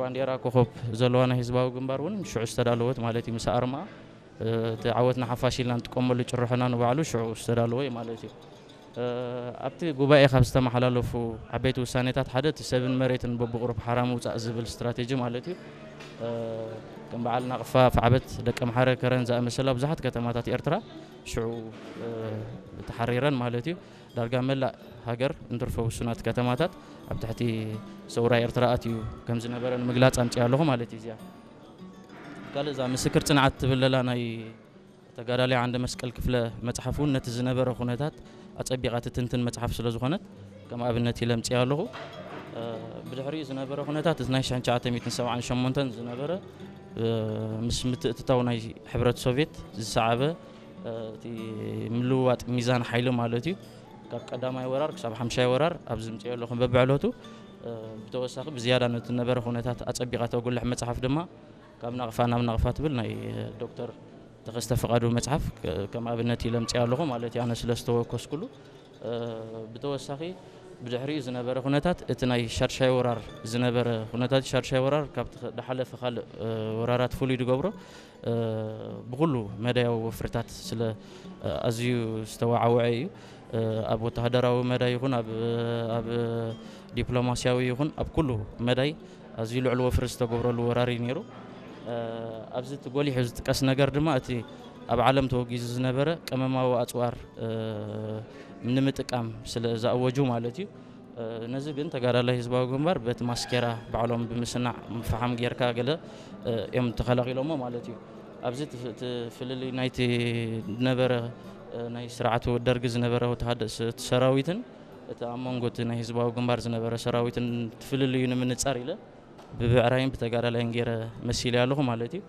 ባንዴራ ኮኸብ ዘለዋ ናይ ህዝባዊ ግንባር እውን ሽዑ ዝተዳለወት ማለት እዩ። ምስ ኣርማ እቲ ዓወትና ሓፋሽ ኢልና ንጥቀመሉ ጭርሖና ንባዕሉ ሽዑ ዝተዳለወ እዩ ማለት እዩ። ኣብቲ ጉባኤ ካብ ዝተመሓላለፉ ዓበይቲ ውሳኔታት ሓደ እቲ ሰብን መሬትን በብቑሩብ ሓራ ምውፃእ ዝብል ስትራቴጂ ማለት እዩ። ከም በዓል ናቕፋ፣ ፋዕበት፣ ደቀምሓረ፣ ከረን ዝኣመሰላ ብዙሓት ከተማታት ኤርትራ ሽዑ ተሓሪረን ማለት እዩ። ዳርጋ መላእ ሃገር እንትርፎ ውሱናት ከተማታት ኣብ ትሕቲ ሰውራ ኤርትራ ኣትዩ ከም ዝነበረ ንምግላጽ ኣምጽያ ኣለኹ ማለት እዩ። እዚኣ ካልእ እዛ ምስክር ጽንዓት ትብል ለላ ናይ ተጋዳላይ ዓንደ መስቀል ክፍለ መጽሓፍ እውን ነቲ ዝነበረ ኩነታት ኣጸቢቓ ትትንትን መጽሓፍ ስለ ዝኾነት ከም ኣብነት ኢለ ኣምጽያ ኣለኹ። ብድሕሪኡ ዝነበረ ኩነታት እቲ ናይ ሽሕን ትሽዓተ ሚእትን ሰብዓን ሸሞንተን ዝነበረ ምስ ምትእትታው ናይ ሕብረት ሶቪየት ዝሰዓበ እቲ ምልውዋጥ ሚዛን ሓይሊ ማለት እዩ። ካብ ቀዳማይ ወራር ክሳብ ሓምሻይ ወራር ኣብ ዝምፅኦ ኣለኹም በብዕለቱ ብተወሳኺ ብዝያዳ ነቲ ነበረ ኩነታት ኣፀቢቓ ተጉልሕ መፅሓፍ ድማ ካብ ናቕፋ ናብ ናቕፋ ትብል ናይ ዶክተር ተኸስተ ፍቓዱ መፅሓፍ ከም ኣብነት ኢለ ኣምፅኣ ኣለኹ ማለት እዩ። ኣነ ስለ ዝተወከስኩሉ ብተወሳኺ ብድሕሪኡ ዝነበረ ኩነታት እቲ ናይ ሻድሻይ ወራር ዝነበረ ኩነታት ሻድሻይ ወራር ካብቲ ዝሓለፈ ካልእ ወራራት ፍሉይ ዝገብሮ ብኩሉ መዳያዊ ወፍርታት ስለ ኣዝዩ ዝተዋዓወዐ እዩ። ኣብ ወተሃደራዊ መዳይ ይኹን ኣብ ዲፕሎማስያዊ ይኹን ኣብ ኩሉ መዳይ ኣዝዩ ልዑል ወፍሪ ዝተገብረሉ ወራር እዩ ነይሩ። ኣብዚ እቲ ጎሊሑ ዝጥቀስ ነገር ድማ እቲ ኣብ ዓለም ተወጊዙ ዝነበረ ቀመማዊ ኣፅዋር ንምጥቃም ስለ ዝኣወጁ ማለት እዩ። ነዚ ግን ተጋዳላይ ህዝባዊ ግንባር በቲ ማስኬራ ባዕሎም ብምስናዕ ፈሓም ጌርካ ገለ እዮም ተኸላኺሎሞ ማለት እዩ። ኣብዚ እቲ ፍልልይ ናይቲ ዝነበረ ናይ ስርዓቱ ደርጊ ዝነበረ ወተሃደ ሰራዊትን እቲ ኣብ መንጎ እቲ ናይ ህዝባዊ ግንባር ዝነበረ ሰራዊትን ፍልልዩ ንምንፃር ኢለ ብብዕራይን ብተጋዳላይን ገይረ መሲለ ኣለኹ ማለት እዩ።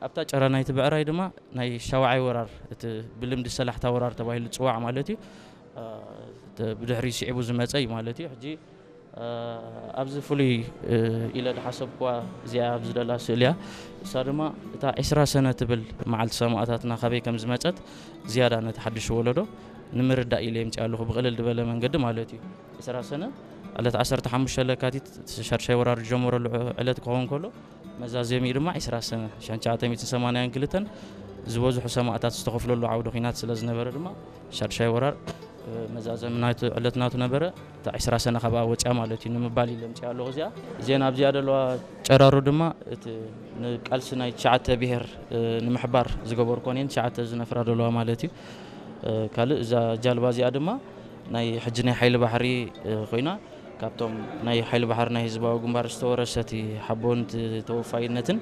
ኣብታ ጨራ ናይቲ ብዕራይ ድማ ናይ ሻውዓይ ወራር እቲ ብልምዲ ሰላሕታ ወራር ተባሂሉ ዝፅዋዕ ማለት እዩ። ብድሕሪ ስዒቡ ዝመፀ እዩ ማለት እዩ። ሕጂ ኣብዚ ፍሉይ ኢለ ዝሓሰብኩዋ እዚኣ ኣብዚ ደላ ስእሊ እያ። እሳ ድማ እታ ዒስራ ሰነ ትብል መዓልቲ ሰማእታትና ካበይ ከም ዝመፀት ዝያዳ ነቲ ሓድሽ ወለዶ ንምርዳእ ኢለ የምፅእ ኣለኹ ብቕልል ዝበለ መንገዲ ማለት እዩ። ዒስራ ሰነ ዕለት ዓሰርተ ሓሙሽተ ለካቲት ሻድሻይ ወራር ዝጀመረሉ ዕለት ክኸውን ከሎ መዛዘሚኡ ድማ ዒስራ ሰነ ሽሕን ትሽዓተ ሚእትን ሰማንያን ክልተን ዝበዝሑ ሰማእታት ዝተኸፍለሉ ዓውደ ኲናት ስለ ዝነበረ ድማ ሻድሻይ ወራር መዛዘሚ ናቱ ዕለት ናቱ ነበረ። እታ ዒስራ ሰነ ካብኣ ወፅያ ማለት እዩ ንምባል ኢለ ኣምፅኣ ኣለኹ። እዚኣ ዜና ኣብዚኣ ዘለዋ ጨራሩ ድማ እቲ ንቃልሲ ናይ ትሽዓተ ብሄር ንምሕባር ዝገበርኮን እየን ትሽዓተ ዝነፍራ ዘለዋ ማለት እዩ። ካልእ እዛ ጃልባ እዚኣ ድማ ናይ ሕጂ ናይ ሓይሊ ባሕሪ ኮይና ካብቶም ናይ ሓይሊ ባሕሪ ናይ ህዝባዊ ግንባር ዝተወረሰቲ ሓቦን ተወፋይነትን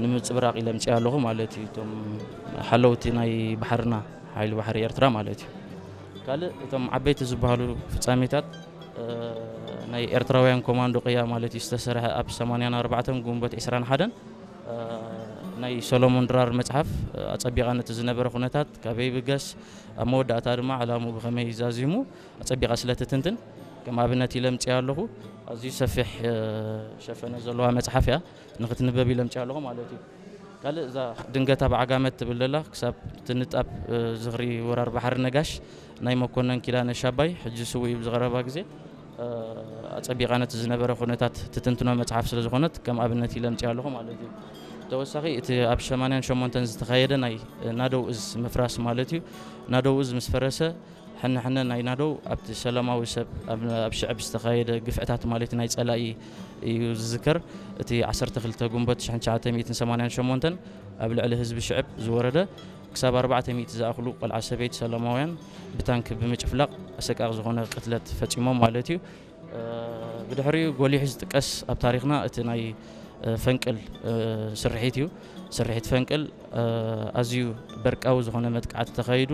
ንምፅብራቕ ኢለ ኣምፅኣ ኣለኹ ማለት እዩ። እቶም ሓለውቲ ናይ ባሕርና ሓይሊ ባሕሪ ኤርትራ ማለት እዩ። ካልእ እቶም ዓበይቲ ዝበሃሉ ፍጻሜታት ናይ ኤርትራውያን ኮማንዶ ቅያ ማለት እዩ ዝተሰርሐ ኣብ ሰማንያን ኣርባዕተን ግንቦት ዒስራን ሓደን ናይ ሰሎሞን ድራር መጽሓፍ ኣጸቢቓ ነቲ ዝነበረ ኩነታት ካበይ ብገስ ኣብ መወዳእታ ድማ ዕላሙ ብኸመይ ዛዚሙ ኣጸቢቓ ስለ ትትንትን ከም ኣብነት ኢለ ኣምጽኣ ኣለኹ። ኣዝዩ ሰፊሕ ሸፈነ ዘለዋ መጽሓፍ እያ። ንኽትንበብ ኢለ ኣምጽኣ ኣለኹ ማለት እዩ። ካልእ እዛ ድንገት ኣብ ዓጋመት ትብል ዘላ ክሳብ ትንጣብ ዝኽሪ ወራር ባሕሪ ነጋሽ ናይ መኮነን ኪዳነ ሻባይ ሕጂ ስውእ እዩ ብዝቐረባ ግዜ ኣጸቢቓ ነቲ ዝነበረ ኩነታት ትትንትኖ መጽሓፍ ስለ ዝኾነት ከም ኣብነት ኢለ ኣምጽኣ ኣለኹ ማለት እዩ። ተወሳኺ እቲ ኣብ ሰማንያን ሸሞንተን ዝተኻየደ ናይ ናደው እዝ ምፍራስ ማለት እዩ። ናደው እዝ ምስ ፈረሰ ሕነ ሕነ ናይ ናደው ኣብቲ ሰላማዊ ሰብ ኣብ ሽዕብ ዝተኻየደ ግፍዕታት ማለት ናይ ጸላኢ እዩ ዝዝከር። እቲ ዓሰርተ ክልተ ግንቦት ሽሕን ትሽዓተ ሚእትን ሰማንያን ሸሞንተን ኣብ ልዕሊ ህዝቢ ሽዕብ ዝወረደ ክሳብ ኣርባዕተ ሚእቲ ዝኣኽሉ ቆልዓ ሰበይቲ ሰላማውያን ብታንክ ብምጭፍላቕ ኣሰቃቂ ዝኾነ ቅትለት ፈጺሞም ማለት እዩ። ብድሕሪኡ ጎሊሑ ዝጥቀስ ኣብ ታሪኽና እቲ ናይ ፈንቅል ስርሒት እዩ። ስርሒት ፈንቅል ኣዝዩ በርቃዊ ዝኾነ መጥቃዕቲ ተኻይዱ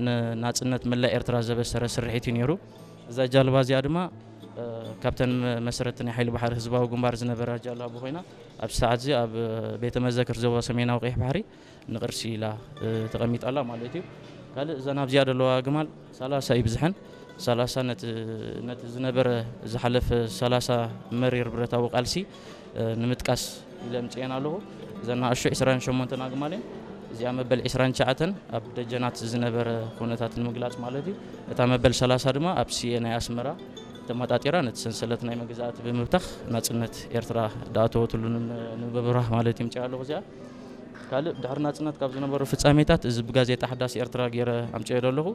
ንናጽነት መላእ ኤርትራ ዘበሰረ ስርሒት እዩ ነይሩ። እዛ ጃልባ እዚኣ ድማ ካብተን መሰረቲ ናይ ሓይሊ ባሕሪ ህዝባዊ ግንባር ዝነበራ ጃላቡ ኮይና ኣብዚ ሰዓት እዚ ኣብ ቤተ መዘክር ዞባ ሰሜናዊ ቀይሕ ባሕሪ ንቕርሲ ኢላ ተቐሚጣ ኣላ ማለት እዩ። ካልእ እዘን ኣብዚኣ ዘለዋ ኣግማል ሰላሳ ይብዝሐን። ሰላሳ ነቲ ዝነበረ ዝሓለፈ ሰላሳ መሪር ብረታዊ ቃልሲ ንምጥቃስ ኢለ ኣምፅኤን ኣለኹ። እዘን ንኣሽቱ ዒስራን ሸሞንተን ኣግማል እየን። እዚኣ መበል ዒስራን ትሽዓተን ኣብ ደጀናት ዝነበረ ኩነታት ንምግላፅ ማለት እዩ። እታ መበል ሰላሳ ድማ ኣብ ስየ ናይ ኣስመራ ተመጣጢራ ነቲ ሰንሰለት ናይ መግዛእቲ ብምብታኽ ናጽነት ኤርትራ ዝኣተወትሉ ንምብራህ ማለት ይምጽእ ኣለኹ። እዚኣ ካልእ ድሕሪ ናጽነት ካብ ዝነበሩ ፍጻሜታት፣ እዚ ብጋዜጣ ሓዳስ ኤርትራ ገይረ ኣምጽኦ ኣለኹ።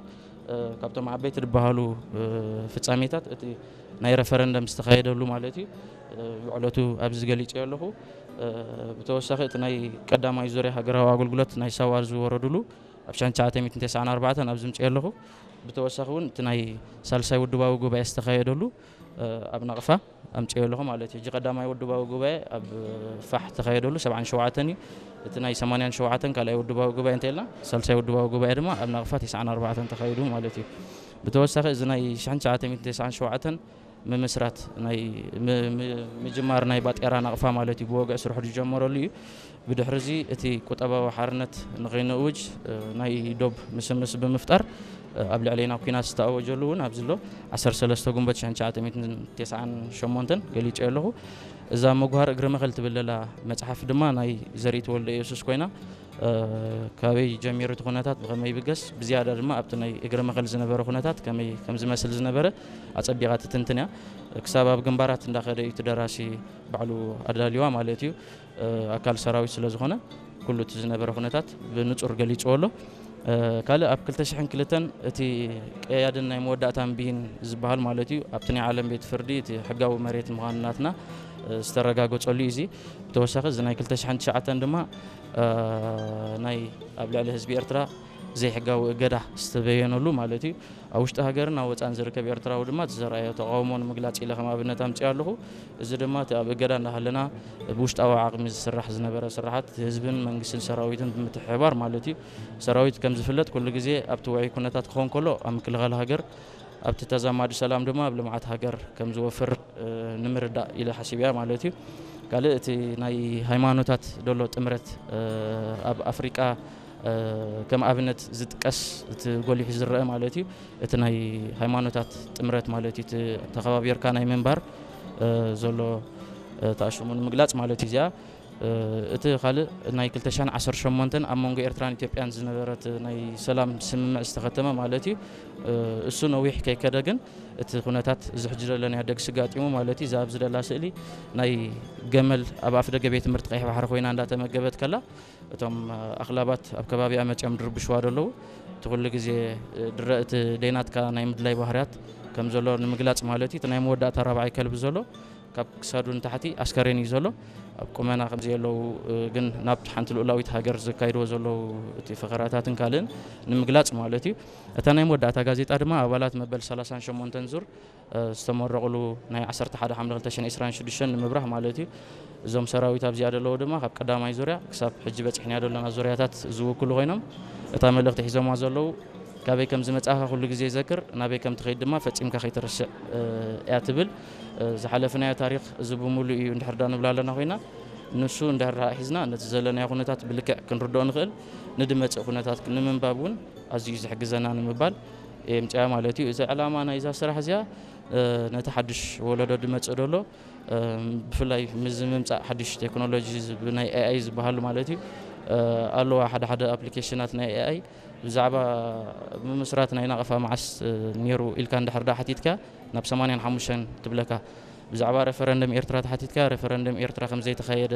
ካብቶም ዓበይቲ ዝበሃሉ ፍጻሜታት እቲ ናይ ረፈረንደም ዝተኻየደሉ ማለት እዩ። ብዕለቱ ኣብዚ ገሊጸ ኣለኹ። ብተወሳኺ እቲ ናይ ቀዳማይ ዙርያ ሃገራዊ ኣገልግሎት ናይ ሳዋ ዝወረዱሉ ኣብ ሸሕን ትሽዓተ ሚእትን ተስዓን ኣርባዕተን ኣብዚ ምጽእ ኣለኹ። ብተወሳኺ እውን እቲ ናይ ሳልሳይ ውድባዊ ጉባኤ ዝተኻየደሉ ኣብ ናቕፋ ኣምጽእ ኣለኹ ማለት እዩ። ሕጂ ቀዳማይ ውድባዊ ጉባኤ ኣብ ፋሕ ተኻየደሉ ሰብዓን ሸውዓተን እዩ። እቲ ናይ ሰማንያን ሸውዓተን ካልኣይ ውድባዊ ጉባኤ እንተልና፣ ሳልሳይ ውድባዊ ጉባኤ ድማ ኣብ ናቕፋ ተስዓን ኣርባዕተን ተኻይዱ ማለት እዩ። ብተወሳኺ እዚ ናይ ሸሕን ትሽዓተ ሚእትን ተስዓን ሸውዓተን ምምስራት ናይ ምጅማር ናይ ባጤራ ናቕፋ ማለት እዩ። ብወግዒ ስርሑ ዝጀመረሉ እዩ። ብድሕሪ እዚ እቲ ቁጠባዊ ሓርነት ንኸይንእውጅ ናይ ዶብ ምስምስ ብምፍጣር ኣብ ልዕለና ኲናት ዝተኣወጀሉ እውን ኣብዚ ኣሎ። ዓሰርተ ሰለስተ ጉንበት ሸሕን ትሽዓተ ሚእትን ተስዓን ሸሞንተን ገሊጸ ኣለኹ። እዛ መጉሃር እግሪ መኸል ትብል ዘላ መጽሓፍ ድማ ናይ ዘርኢት ወልደ ኢየሱስ ኮይና፣ ካበይ ጀሚሩ እቲ ኩነታት ብኸመይ ይብገስ፣ ብዝያዳ ድማ ኣብቲ ናይ እግሪ መኸል ዝነበረ ኩነታት ከመይ ከም ዝመስል ዝነበረ ኣጸቢቓ ትትንትን እያ። ክሳብ ኣብ ግንባራት እንዳኸደ እዩ እቲ ደራሲ ባዕሉ ኣዳልዋ ማለት እዩ። ኣካል ሰራዊት ስለ ዝኾነ ኩሉ እቲ ዝነበረ ኩነታት ብንጹር ገሊጽዎ ኣሎ። ካልእ ኣብ ክልተ ሽሕን ክልተን እቲ ቀያድን ናይ መወዳእታን ብይን ዝበሃል ማለት እዩ፣ ኣብቲ ናይ ዓለም ቤት ፍርዲ እቲ ሕጋዊ መሬት ምዃኑ ናትና ዝተረጋገጸሉ እዩ። እዚ ብተወሳኺ እዚ ናይ ክልተ ሽሕን ትሽዓተን ድማ ናይ ኣብ ልዕሊ ህዝቢ ኤርትራ ዘይሕጋዊ እገዳ ዝተበየነሉ ማለት እዩ። ኣብ ውሽጢ ሃገርን ኣብ ወጻእን ዝርከብ ኤርትራዊ ድማ እቲ ዘርኣዮ ተቓውሞ ንምግላጽ ኢለ ከም ኣብነት ኣምጽእ ኣለኹ። እዚ ድማ እቲ ኣብ እገዳ እንዳሃለና ብውሽጣዊ ዓቕሚ ዝስራሕ ዝነበረ ስራሓት ህዝብን መንግስትን ሰራዊትን ብምትሕብባር ማለት እዩ። ሰራዊት ከም ዝፍለጥ ኩሉ ግዜ ኣብቲ ውዑይ ኩነታት ክኾን ከሎ ኣብ ምክልኻል ሃገር፣ ኣብቲ ተዛማዲ ሰላም ድማ ኣብ ልምዓት ሃገር ከም ዝወፍር ንምርዳእ ኢለ ሓሲብ እያ ማለት እዩ። ካልእ እቲ ናይ ሃይማኖታት ዘሎ ጥምረት ኣብ ኣፍሪቃ ከም ኣብነት ዝጥቀስ እቲ ጎሊሑ ዝረአ ማለት እዩ። እቲ ናይ ሃይማኖታት ጥምረት ማለት እዩ። እቲ ተኸባቢርካ ናይ ምንባር ዘሎ ተኣሽሙ ንምግላጽ ማለት እዩ። እዚኣ እቲ ካልእ ናይ ክልተ ሽሕን ዓሰርተ ሸሞንተን ኣብ መንጎ ኤርትራን ኢትዮጵያን ዝነበረት ናይ ሰላም ስምምዕ ዝተኸተመ ማለት እዩ። እሱ ነዊሕ ከይከደ ግን እቲ ኩነታት እዚ ሕጂ ዘለናዮ ደግሲ ጋጢሙ ማለት እዩ። እዛ ኣብዚ ደላ ስእሊ ናይ ገመል ኣብ ኣፍ ደገ ቤት ትምህርቲ ቀይሕ ባሕሪ ኮይና እንዳተመገበት ከላ እቶም ኣኽላባት ኣብ ከባቢኣ መጺኦም ድርብሽዋ ዘለዉ። እቲ ኩሉ ግዜ ድረ እቲ ደይናትካ ናይ ምድላይ ባህርያት ከም ዘሎ ንምግላጽ ማለት እዩ። እቲ ናይ መወዳእታ ራብዓይ ከልቢ ዘሎ ካብ ክሳዱ ንታሕቲ ኣስከሬን እዩ ዘሎ። ኣብ ቁመና ከም ዘየለዉ ግን ናብ ሓንቲ ልኡላዊት ሃገር ዘካይድዎ ዘለዉ እቲ ፈኸራታትን ካልእን ንምግላጽ ማለት እዩ። እታ ናይ መወዳእታ ጋዜጣ ድማ ኣባላት መበል ሰላሳን ሸሞንተን ዙር ዝተመረቑሉ ናይ ዓሰርተ ሓደ ሓምለ ክልተ ሽሕን ዕስራን ሽዱሽተን ንምብራህ ማለት እዩ። እዞም ሰራዊት ኣብዚኣ ዘለዉ ድማ ካብ ቀዳማይ ዙርያ ክሳብ ሕጂ በጺሕናዮ ዘለና ዙርያታት ዝውክሉ ኮይኖም፣ እታ መልእኽቲ ሒዞማ ዘለዉ ካበይ ከም ዝመጻእካ ኩሉ ግዜ ዘክር፣ ናበይ ከም ትኸይድ ድማ ፈጺምካ ከይትርስዕ እያ ትብል። ዝሓለፍናዮ ታሪኽ እዚ ብምሉእ እዩ እንድሕር ዳ ንብላ ኣለና ኮይና፣ ንሱ እንድሕር ዳ ሒዝና ነቲ ዘለናዮ ኩነታት ብልክዕ ክንርድኦ ንኽእል፣ ንድመጽእ ኩነታት ንምንባብ እውን ኣዝዩ ዝሕግዘና ንምባል የምጽያ ማለት እዩ። እዚ ዕላማ ናይዛ ስራሕ እዚኣ ነቲ ሓድሽ ወለዶ ድመጽእ ደሎ ብፍላይ ምስዚ ምምጻእ ሓድሽ ቴክኖሎጂ ናይ ኤኣይ ዝበሃሉ ማለት እዩ ኣለዋ ሓደ ሓደ ኣፕሊኬሽናት ናይ ኤኣይ ብዛዕባ ምምስራት ናይ ናቕፋ መዓስ ነይሩ ኢልካ እንድሕር ዳ ሓቲትካ ናብ ሰማንያን ሓሙሽተን ትብለካ። ብዛዕባ ሬፈረንደም ኤርትራ ተሓቲትካ ሬፈረንደም ኤርትራ ከም ዘይተኻየደ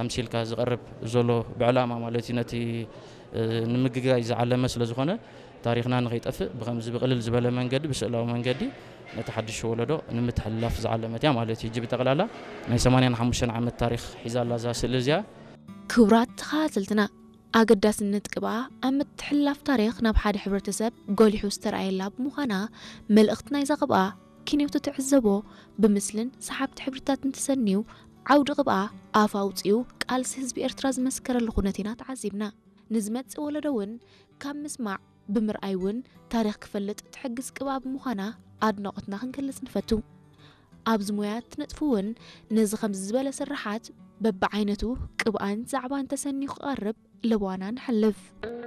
ኣምሲልካ ዝቐርብ ዘሎ ብዕላማ ማለት እዩ ነቲ ንምግጋይ ዝዓለመ ስለ ዝኾነ ታሪኽና ንኸይጠፍእ ብኸምዚ ብቕልል ዝበለ መንገዲ ብስእላዊ መንገዲ ነቲ ሓድሽ ወለዶ ንምትሕልላፍ ዝዓለመት እያ ማለት እዩ። ሕጂ ብጠቕላላ ናይ ሰማንያን ሓሙሽተን ዓመት ታሪኽ ሒዛ ኣላ እዛ ስእሊ እዚኣ። ክቡራት ተኸታተልትና፣ ኣገዳስነት ቅብኣ ኣብ ምትሕልላፍ ታሪኽ ናብ ሓደ ሕብረተሰብ ጎሊሑ ዝተረኣየላ ብምዃና፣ መልእኽቲ ናይዛ ቅብኣ ኪንዮቶ ትዕዘቦ ብምስልን ሰሓብቲ ሕብርታትን ተሰንዩ፣ ዓውዲ ቅብኣ ኣፍ ኣውጺኡ ቃልሲ ህዝቢ ኤርትራ ዝመስከረሉ ኩነት ኢና ተዓዚብና። ንዝመጽእ ወለዶ እውን ካብ ምስማዕ ብምርኣይ እውን ታሪኽ ክፈልጥ ትሕግዝ ቅብኣ ብምዃና ኣድናቖትና ክንገልጽ ንፈቱ። ኣብዚ ሞያ እትነጥፉ እውን ነዚ ከምዚ ዝበለ ስርሓት በብዓይነቱ ቅብኣን ዛዕባን ተሰንዩ ክቐርብ ለበዋና ንሓልፍ።